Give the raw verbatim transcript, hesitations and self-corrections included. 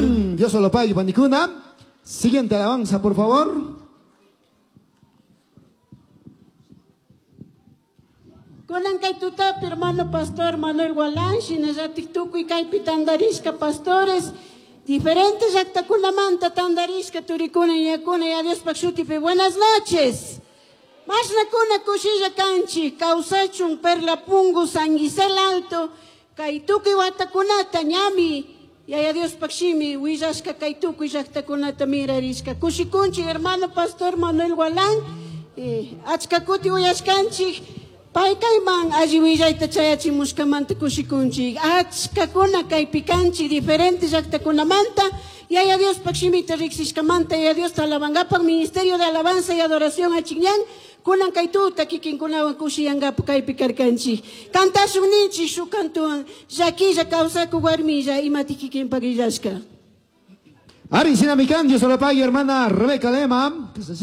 Amén. Dios lo pague, panikuna. Siguiente alabanza, por favor. Kunan kay tutapi, hermano pastor Manuel Gualán, shinallatik tukuy kaypi tandarishka pastores, diferentes llaqtakunamanta tandarishka turikuna ñakuna ya Diospaq shutipi. Buenas noches. Mashnakuna kushilla kanchik, kawsachun Perla Pungu, San Gisel Alto, kay tukuy watakunata ñami, Yaya Diospaq shimi, willashka kay tukuy llaqtakunata mirarishka. Kushikunchik, hermano pastor Manuel Gualán, eh, achka kuti uyashkanchik, pay kayman alli willayta chayachimushkamanta kushikunchik. Achkakuna kaypi kanchik, diferentes llaqtakunamanta, Yaya Diospaq shimita riqsishkamanta, Yaya Diosta alabangapak, Ministerio de Alabanza y Adoración Achiñán, kunan kay tuta kikinkunawan kushiyangapak kaypi karkanchik. Kantashun ninchik shuk kantuwan, llakilla kawsaku warmilla, imati kikinpak illashka. Ari, Sinamikan, Dios lo pague, hermana Rebeca Lema.